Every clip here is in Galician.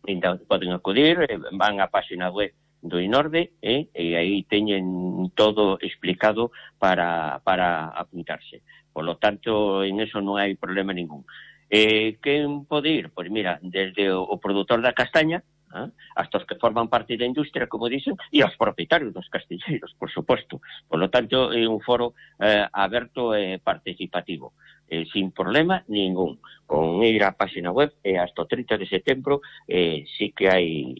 Ainda poden acudir, van á página web do INORDE, e aí teñen todo explicado para apuntarse. Por lo tanto, en eso non hai problema ningún. Quen pode ir? Pois mira, desde o produtor da castaña, hasta os que forman parte da industria, como dicen, e os propietarios dos castiñeiros, por suposto. Por lo tanto, é un foro aberto e participativo, sin problema ningún. Con ir á página web, hasta o 30 de setembro, sí que hai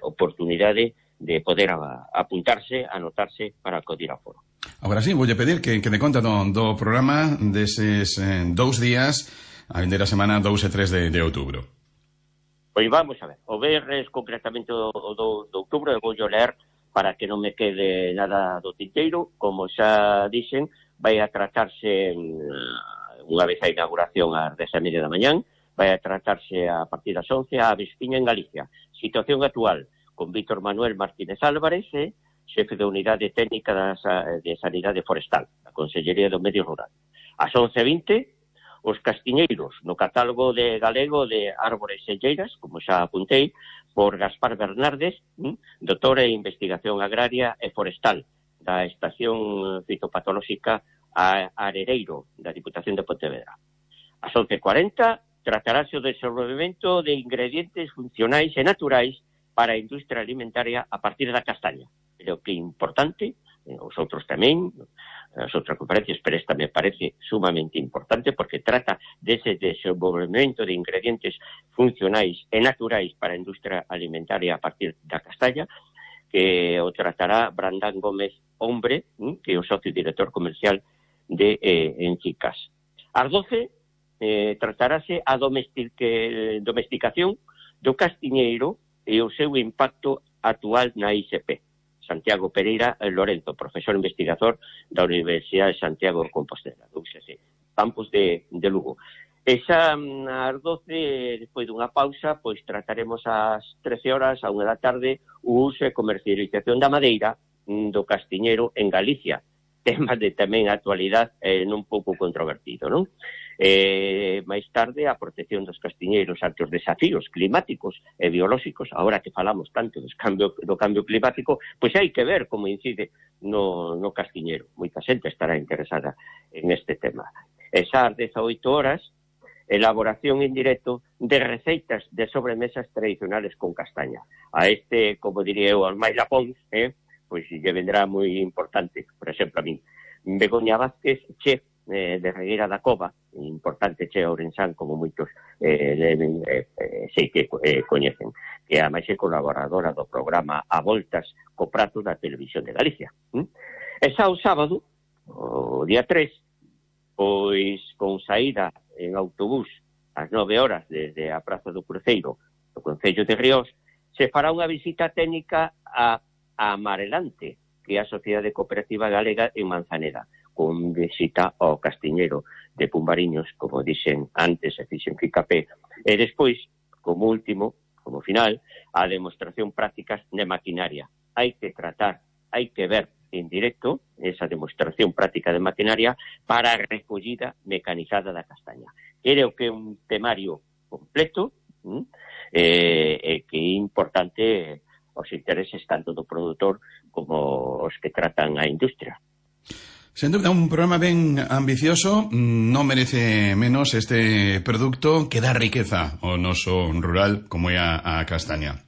oportunidade de poder apuntarse, anotarse para acudir ao foro. Agora sí, voulle pedir que me conta do programa deses 2 días, a vindeira semana 2 e 3 de outubro. Pois vamos a ver, o verres concretamente o 2 de outubro, eu voulle ler para que non me quede nada do tinteiro. Como xa dixen, vai a tratarse unha vez a inauguración ás 10:30 da mañán, vai a tratarse a partir das 11 a Vespiña en Galicia. Situación actual, con Víctor Manuel Martínez Álvarez, xefe da Unidade Técnica de Sanidade Forestal, da Consellería do Medio Rural. Ás 11:20, os castiñeiros no catálogo de galego de árbores selleiras, como xa apuntei, por Gaspar Bernardes, doutor en Investigación Agraria e Forestal, da Estación Fitopatolóxica Arereiro, da Diputación de Pontevedra. Ás 11:40, tratarase o desenvolvemento de ingredientes funcionais e naturais para a industria alimentaria a partir da castaña. Creo que é importante, os outros tamén, as outras conferencias, pero esta me parece sumamente importante porque trata dese desenvolvemento de ingredientes funcionais e naturais para a industria alimentaria a partir da castaña, que o tratará Brandán Gómez Hombre, que é o socio director comercial de Encicas. Ás 12, tratarase a domesticación do castiñeiro e o seu impacto actual na ISP. Santiago Pereira Lorenzo, profesor investigador da Universidade de Santiago de Compostela, do UCC, campus de Lugo. Esa ás 12, despois dunha pausa, pois trataremos ás 13 horas, a 1 da tarde, o uso e comercialización da madeira do castiñeiro en Galicia. Tema de tamén actualidade non pouco controvertido, non? máis tarde a protección dos castiñeiros ante os desafíos climáticos e biolóxicos. Agora que falamos tanto do cambio climático, pois hai que ver como incide no castiñeiro. Moita xente estará interesada en este tema. E xa ás 18 horas, elaboración en directo de receitas de sobremesas tradicionales con castaña. A este, como diría eu, aos máis lapóns, pois lle vendrá moi importante. Por exemplo, a min, Begoña Vázquez, chef de Regueira da Cova, importante chef ourensán, como moitos sei que coñecen, que a máis é colaboradora do programa A Voltas co prato da Televisión de Galicia. E xa o sábado, o día 3, pois con saída en autobús ás 9 horas desde a Praza do Cruceiro do Concello de Ríos, se fará unha visita técnica a Amarelante, que é a Sociedade Cooperativa Galega en Manzaneda, con visita ao castiñeiro de Pumbariños, como dixen antes, e fixen Quicapé, e despois, como último, como final, a demostración prácticas de maquinaria. Hai que tratar, hai que ver en directo esa demostración práctica de maquinaria para a recollida mecanizada da castaña. Creo que é un temario completo e que é importante os intereses tanto do produtor como os que tratan a industria. Sen dúbida, un programa ben ambicioso, non merece menos este produto que dá riqueza ao noso rural como é a castaña.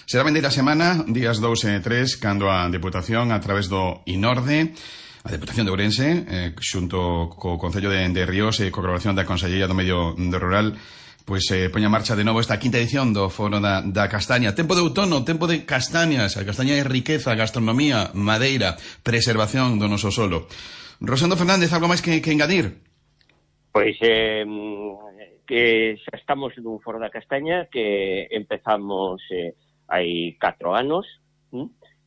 Será vendeira semana, días 2 e 3, cando a Deputación, a través do INORDE, a Deputación de Ourense, xunto co Concello de Ríos e co colaboración da Consellería do Medio Rural, pois poña en marcha de novo esta quinta edición do Foro da Castaña. Tempo de outono, tempo de castañas. A castaña é riqueza, gastronomía, madeira, preservación do noso solo. Rosendo Fernández, algo máis que engadir? Pois que xa estamos nun Foro da Castaña que empezamos hai 4 anos,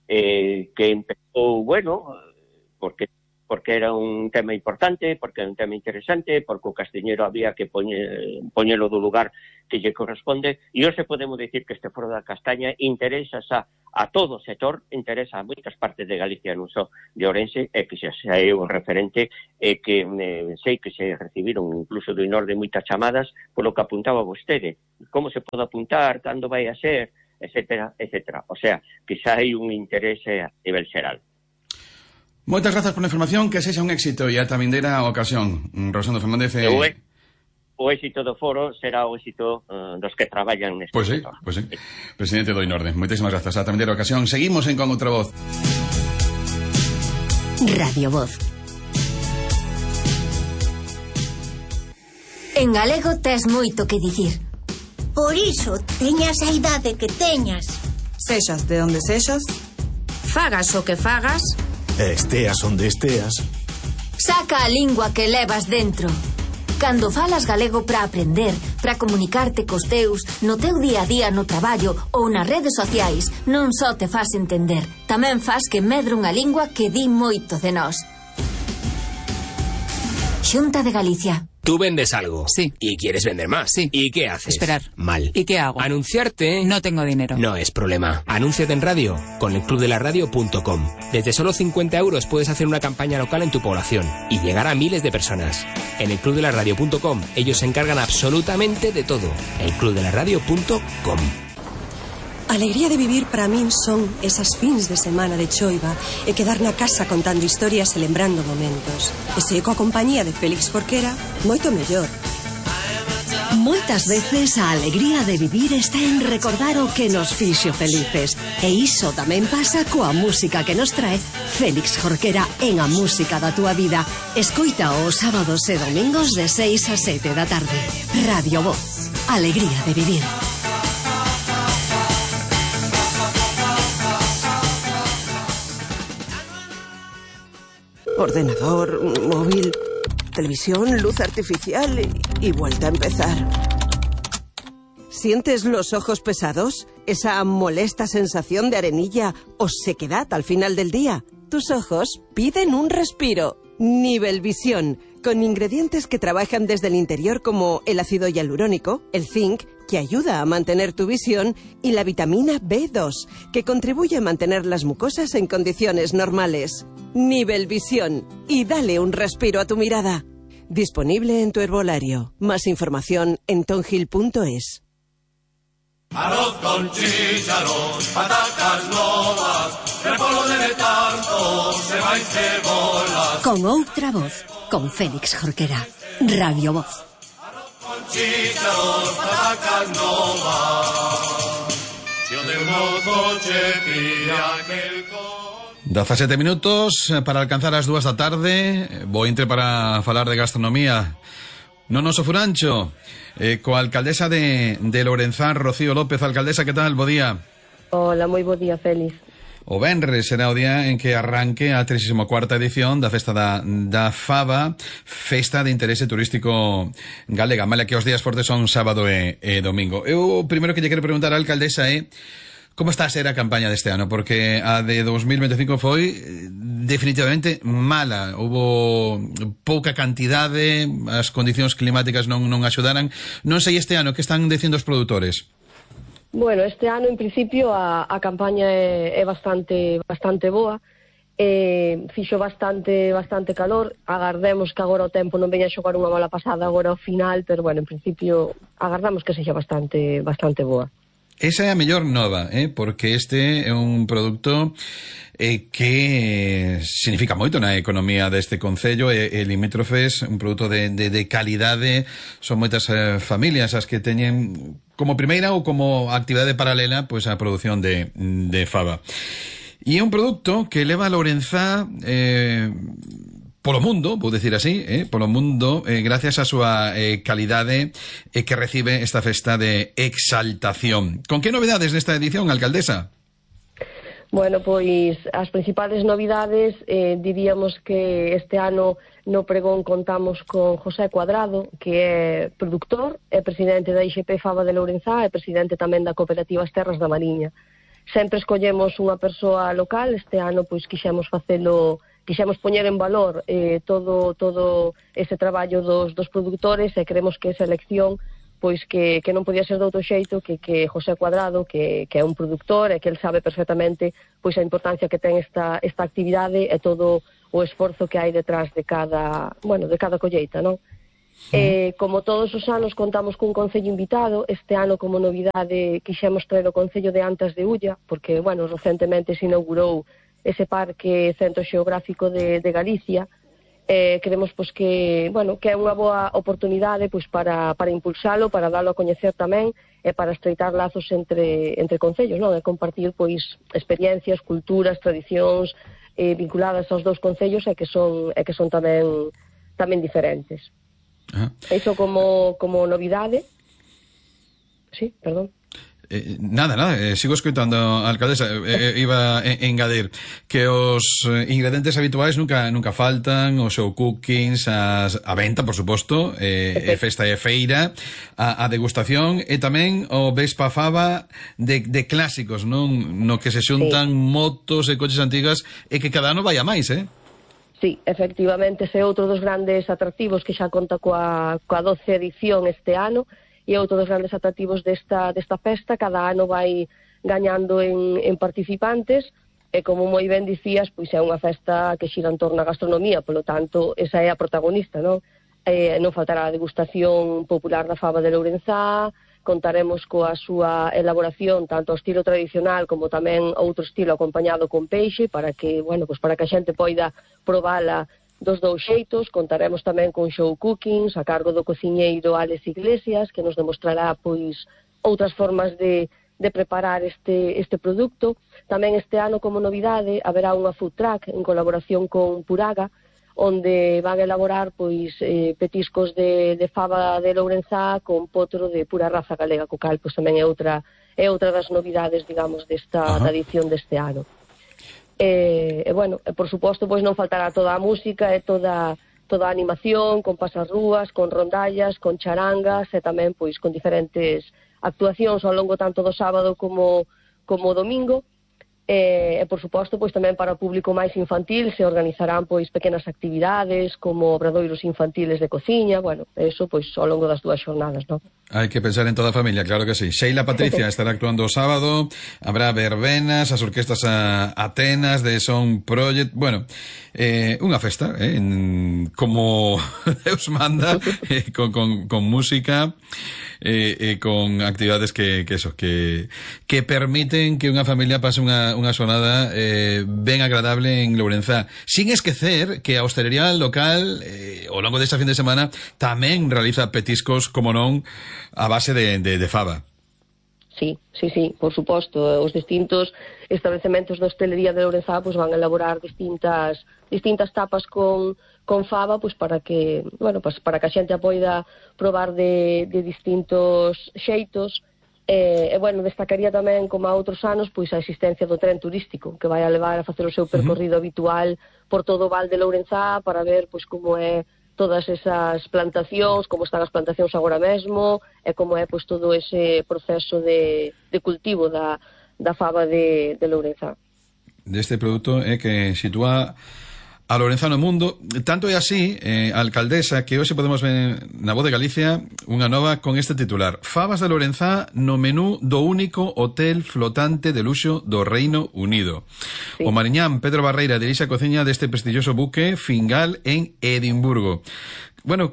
que empezou, bueno, porque porque era un tema importante, porque era un tema interesante, porque o castiñeiro había que poñelo do lugar que lle corresponde, e hoxe podemos dicir que este Foro da Castaña interesa a todo o sector, interesa a moitas partes de Galicia, non só de Ourense, e que xa é un referente, e que sei que se recibiron incluso do Inorde moitas chamadas polo que apuntaba vostede, como se pode apuntar, cando vai a ser, etcétera, etcétera. O sea, que xa hai un interese a nivel xeral. Moitas grazas pola información, que sexa un éxito e ata vindeira ocasión. Rosendo Fernández... O éxito do foro será o éxito dos que traballan neste sector. Pois sí, presidente do Inorde. Moitísimas grazas, ata vindeira ocasión. Seguimos en Con Outra Voz. Radio Voz. En galego tes moito que dicir. Por iso, teñas a idade que teñas. Sexas de onde sexas, Fagas o que fagas, esteas onde esteas. saca a lingua que levas dentro. Cando falas galego para aprender, para comunicarte cos teus, no teu día a día no traballo ou nas redes sociais, non só te fas entender, tamén fas que medre unha lingua que di moito de nós. Xunta de Galicia. Tú vendes algo. Sí. Y quieres vender más. Sí. ¿Y qué haces? Esperar. Mal. ¿Y qué hago? Anunciarte. No tengo dinero. No es problema. Anúnciate en radio con elclubdelaradio.com. Desde solo 50 euros puedes hacer una campaña local en tu población y llegar a miles de personas. En elclubdelaradio.com ellos se encargan absolutamente de todo. elclubdelaradio.com. A alegría de vivir para min son esas fins de semana de choiva e quedar na casa contando historias e lembrando momentos. E se coa compañía de Félix Jorquera, moito mellor. Moitas veces a alegría de vivir está en recordar o que nos fixo felices. E iso tamén pasa coa música que nos trae Félix Jorquera en A Música da Túa Vida. Escoita os sábados e domingos de 6 a 7 da tarde. Radio Voz. Alegría de vivir. Ordenador, móvil, televisión, luz artificial y vuelta a empezar. ¿Sientes los ojos pesados? ¿Esa molesta sensación de arenilla o sequedad al final del día? Tus ojos piden un respiro. Nivelvisión, con ingredientes que trabajan desde el interior como el ácido hialurónico, el zinc, que ayuda a mantener tu visión, y la vitamina B2, que contribuye a mantener las mucosas en condiciones normales. Nivelvisión, y dale un respiro a tu mirada. Disponible en tu herbolario. Más información en tongil.es. Arroz con chícharos, patacas novas, repollo de letargo, ceba y cebolas. Con Outra Voz, con Félix Jorquera. Radio Voz. Arroz con chícharos, patacas novas. Si o de uno coche pilla aquel coche. 17 minutos para alcanzar as 2 da tarde. Vou entre para falar de gastronomía no noso furancho, coa alcaldesa de Lourenzán, Rocío López. Alcaldesa, que tal? Bo día. Hola, moi bo día, Félix. O venres será o día en que arranque a 34ª edición da Festa da Faba, Festa de Interese Turístico Galega. Mala que os días fortes son sábado e domingo. Eu, o primeiro que lle quero preguntar á alcaldesa é como está a ser a campaña deste ano, porque a de 2025 foi definitivamente mala. Houbo pouca cantidade, as condicións climáticas non axudaran. Non sei este ano que están dicindo os produtores. Bueno, este ano, en principio, a campaña é bastante boa. Fixo bastante calor. Agardemos que agora o tempo non veña a xogar unha mala pasada agora ao final, pero, bueno, en principio, agardamos que sexa bastante boa. Esa é a mellor nova, porque este é un produto que significa moito na economía deste concello, e limítrofes, un produto de calidade. Son moitas familias as que teñen como primeira ou como actividade paralela pois a produción de faba. E é un produto que leva a Lourenzá polo mundo, vou decir así, polo mundo, gracias a súa calidade que recibe esta festa de exaltación. Con que novedades nesta edición, alcaldesa? Bueno, pois as principales novidades, diríamos que este ano no pregón contamos con José Cuadrado, que é produtor, é presidente da IXP Faba de Lourenzá e presidente tamén da Cooperativa As Terras da Mariña. Sempre escollemos unha persoa local, este ano pois quixemos facelo quixemos poñer en valor todo ese traballo dos produtores e creemos que esa elección pois que non podía ser de outro xeito que José Cuadrado, que é un produtor e que el sabe perfectamente pois a importancia que ten esta actividade e todo o esforzo que hai detrás de cada colleita, non? Como todos os anos contamos cun concello invitado, este ano como novidade quixemos traer o concello de Antas de Ulla, porque, recentemente se inaugurou ese parque centro xeográfico de Galicia. Creemos que é unha boa oportunidade para impulsalo, para dalo a coñecer tamén e para estreitar lazos entre concellos, non? E compartir experiencias, culturas, tradicións vinculadas aos dous concellos e que son tamén diferentes. Iso como novidade. Sí, perdón. Nada, sigo escoitando, alcaldesa. Iba a engadir que os ingredientes habituais nunca faltan, os show cookings, a venta, por suposto, festa e feira, a degustación e tamén o Vespa Fava de clásicos, non? No que se xuntan motos e coches antigas e que cada ano vai a máis, Sí, efectivamente, ese é outro dos grandes atractivos que xa conta coa 12ª edición este ano e outro dos grandes atractivos desta festa. Cada ano vai gañando en participantes e, como moi ben dicías, pois é unha festa que xira en torno á gastronomía, polo tanto, esa é a protagonista, non? Non faltará a degustación popular da fava de Lourenzá, contaremos coa súa elaboración tanto ao estilo tradicional como tamén outro estilo acompañado con peixe para que a xente poida probala dos dous xeitos. Contaremos tamén con show cookings a cargo do cociñeiro Alex Iglesias, que nos demostrará outras formas de preparar este produto. Tamén este ano como novidade haberá unha food truck en colaboración con Puraga, onde van a elaborar petiscos de fava de Lourenzá con potro de pura raza galega, co cal tamén é outra das novidades, digamos, da edición deste ano. Por suposto, non faltará toda a música e toda a animación, con pasarrúas, con rondallas, con charangas e tamén con diferentes actuacións ao longo tanto do sábado como o domingo. E, por suposto, tamén para o público máis infantil se organizarán pequenas actividades como obradoiros infantiles de cociña, eso ao longo das dúas xornadas, non? Hai que pensar en toda a familia, claro que sí. Sheila Patricia estará actuando o sábado, habrá verbenas, as orquestas Atenas de Son Project, unha festa, como Deus manda, con música, con actividades que permiten que unha familia pase unha xornada ben agradable en Lourenzá, sin esquecer que a hostelería local ao longo desta fin de semana tamén realiza petiscos, como non, a base de fava. Sí, por suposto. Os distintos establecementos de hostelería de Lourenzá van a elaborar distintas tapas con fava para que a xente a poida probar de distintos xeitos. Destacaría tamén, como a outros anos, a existencia do tren turístico que vai a levar a facer o seu percorrido habitual por todo o Val de Lourenzá para ver como é todas esas plantacións, como están as plantacións agora mesmo e como é todo ese proceso de cultivo da fava de Lourenzá. Deste produto que sitúa a Lourenzá no mundo. Tanto é así, alcaldesa, que hoxe podemos ver na Voz de Galicia unha nova con este titular: Favas de Lourenzá no menú do único hotel flotante de luxo do Reino Unido. Sí. O mariñán Pedro Barreira dirixe a cociña deste prestigioso buque Fingal en Edimburgo.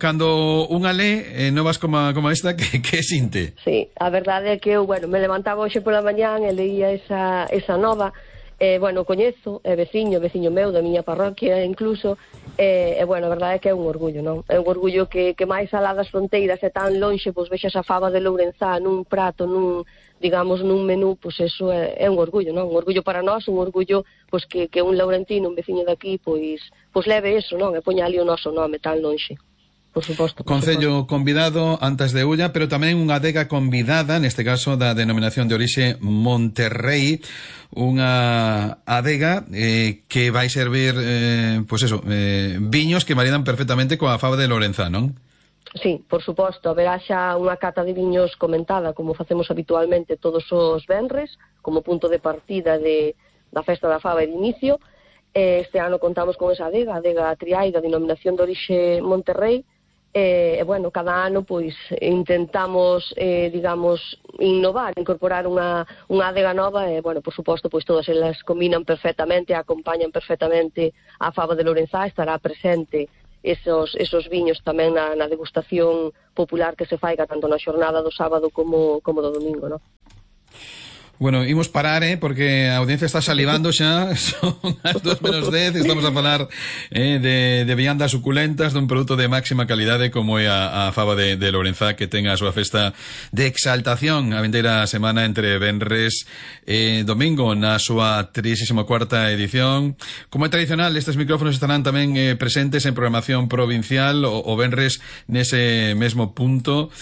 Cando unha lé novas como esta, que sinte? Sí, a verdade é que eu, me levantaba hoxe pola mañán e leía esa nova. Coñezo, é veciño meu da miña parroquia incluso, a verdade é que é un orgullo, non? É un orgullo que máis alá das fronteiras e tan lonxe, vexas a fava de Lourenzá nun prato, nun menú, eso é un orgullo, non? Un orgullo para nós, un orgullo que un laurentino, un veciño daqui, leve eso, non? E poña ali o noso nome tan lonxe. Por suposto. Concello convidado, Antas de Ulla, pero tamén unha adega convidada, neste caso da denominación de orixe Monterrey, unha adega que vai servir viños que maridan perfectamente coa fava de Lourenzá, non? Sí, por suposto, haberá xa unha cata de viños comentada, como facemos habitualmente todos os venres, como punto de partida da festa da fava e de inicio. Este ano contamos con esa adega, a adega Triai da denominación de orixe Monterrey, e, bueno, cada ano pois intentamos, digamos, innovar, incorporar unha adega nova e, bueno, por suposto, pois todas elas combinan perfectamente, acompañan perfectamente a fava de Lourenzá, estará presente esos viños tamén na degustación popular que se faiga tanto na xornada do sábado como do domingo, non? Bueno, imos parar, porque a audiencia está salivando xa, son as 2:10, estamos a falar de viandas suculentas, dun produto de máxima calidade como é a fava de Lourenzá, que ten a súa festa de exaltación a vindeira semana entre venres e domingo na súa 34ª edición. Como é tradicional, estes micrófonos estarán tamén presentes en programación provincial o venres nese mesmo punto.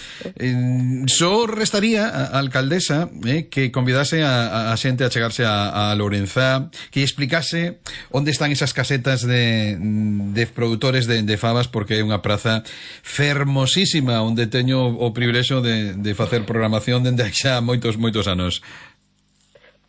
Só restaría a alcaldesa que convidase a xente a chegarse a Lourenzá, que explicase onde están esas casetas de produtores de favas, porque é unha praza fermosísima onde teño o privilexio de facer programación dende xa moitos anos.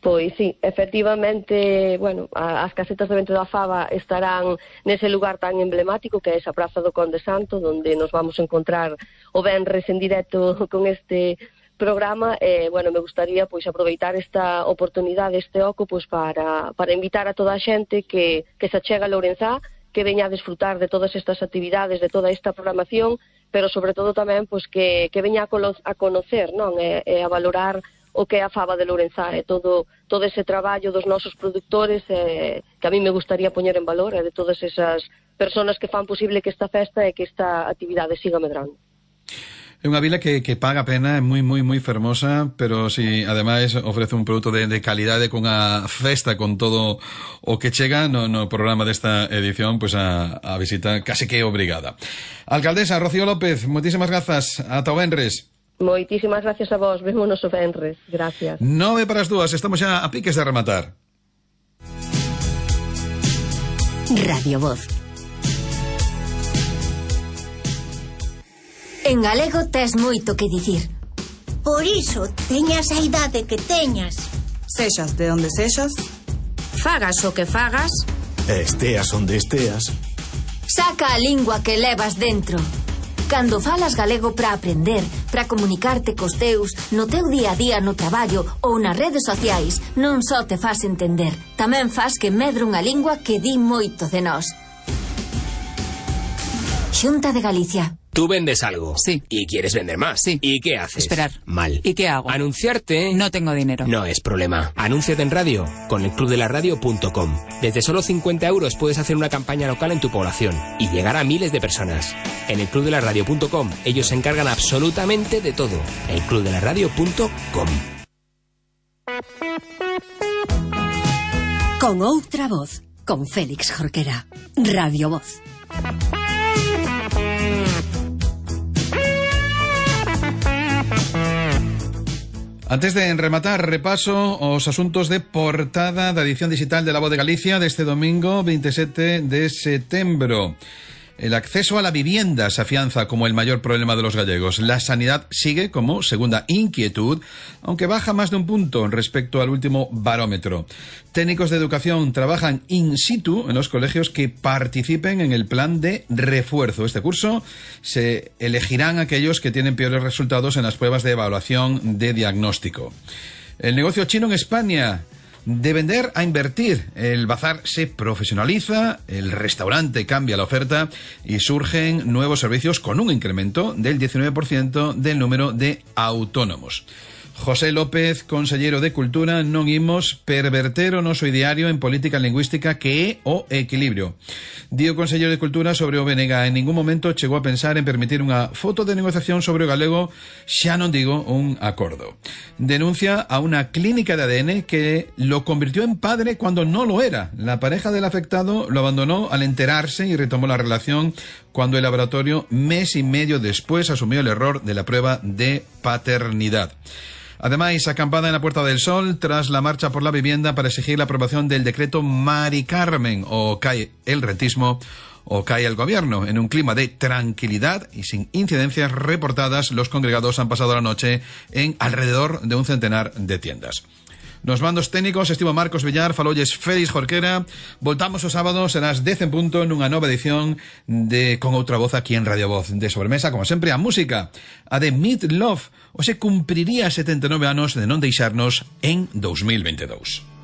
Pois sí, efectivamente, bueno, as casetas de vento da fava estarán nese lugar tan emblemático que é esa Praza do Conde Santo, onde nos vamos a encontrar o venres en directo con este programa. Bueno, me gustaría pois aproveitar esta oportunidade, este oco, pois para invitar a toda a xente que se achega a Lourenzá, que veña a desfrutar de todas estas actividades, de toda esta programación, pero sobre todo tamén pois que veña a conocer, non, e a valorar o que é a fava de Lourenzá e todo ese traballo dos nosos produtores, que a mí me gustaría poñer en valor, e de todas esas personas que fan posible que esta festa e que esta actividade siga medrando. É unha vila que paga a pena, é moi fermosa, pero si ademais ofrece un produto de calidade con a festa, con todo o que chega no programa desta edición, pois a visita case que obrigada. Alcaldesa Rocío López, moitísimas grazas, ata o venres. Moitísimas gracias a vos, vémonos o venres, gracias. 9:02, estamos xa a piques de rematar. Radio Voz. En galego tes moito que dicir. Por iso, teñas a idade que teñas. Sexas de onde sexas. Fagas o que fagas. Esteas onde esteas. Saca a lingua que levas dentro. Cando falas galego para aprender, para comunicarte cos teus, no teu día a día no traballo ou nas redes sociais, non só te fas entender, tamén fas que medre unha lingua que di moito de nós. Xunta de Galicia. Tú vendes algo. Sí. Y quieres vender más. Sí. ¿Y qué haces? Esperar. Mal. ¿Y qué hago? Anunciarte. No tengo dinero. No es problema. Anúnciate en radio con elclubdelaradio.com. Desde solo 50 euros puedes hacer una campaña local en tu población y llegar a miles de personas. En elclubdelaradio.com ellos se encargan absolutamente de todo. elclubdelaradio.com. Con outra voz, con Félix Jorquera. Radio Voz. Antes de rematar, repaso os asuntos de portada da edición digital de La Voz de Galicia deste domingo 27 de setembro. El acceso a la vivienda se afianza como el mayor problema de los gallegos. La sanidad sigue como segunda inquietud, aunque baja más de un punto respecto al último barómetro. Técnicos de educación trabajan in situ en los colegios que participen en el plan de refuerzo. Este curso se elegirán aquellos que tienen peores resultados en las pruebas de evaluación de diagnóstico. El negocio chino en España. De vender a invertir, el bazar se profesionaliza, el restaurante cambia la oferta y surgen nuevos servicios con un incremento del 19% del número de autónomos. José López, consellero de Cultura, non imos perverter o noso ideario en política lingüística que é o equilibrio. Di o consellero de Cultura sobre o BNG, en ningún momento chegou a pensar en permitir unha foto de negociación sobre o galego, xa non digo un acordo. Denuncia a una clínica de ADN que lo convirtió en padre cuando no lo era. La pareja del afectado lo abandonó al enterarse y retomó la relación cuando el laboratorio, mes y medio después, asumió el error de la prueba de paternidad. Además, acampada en la Puerta del Sol tras la marcha por la vivienda para exigir la aprobación del decreto Mari Carmen. O cae el rentismo o cae el gobierno. En un clima de tranquilidad y sin incidencias reportadas, los congregados han pasado la noche en alrededor de un centenar de tiendas. Nos mandos técnicos estivo Marcos Villar, falolles Félix Jorquera. Voltamos o sábado, serás 10 en punto nunha nova edición de Con Outra Voz aquí en Radio Voz. De sobremesa, como sempre, a música, a de Meat Love. Hoxe cumpriría 79 anos de non deixarnos en 2022.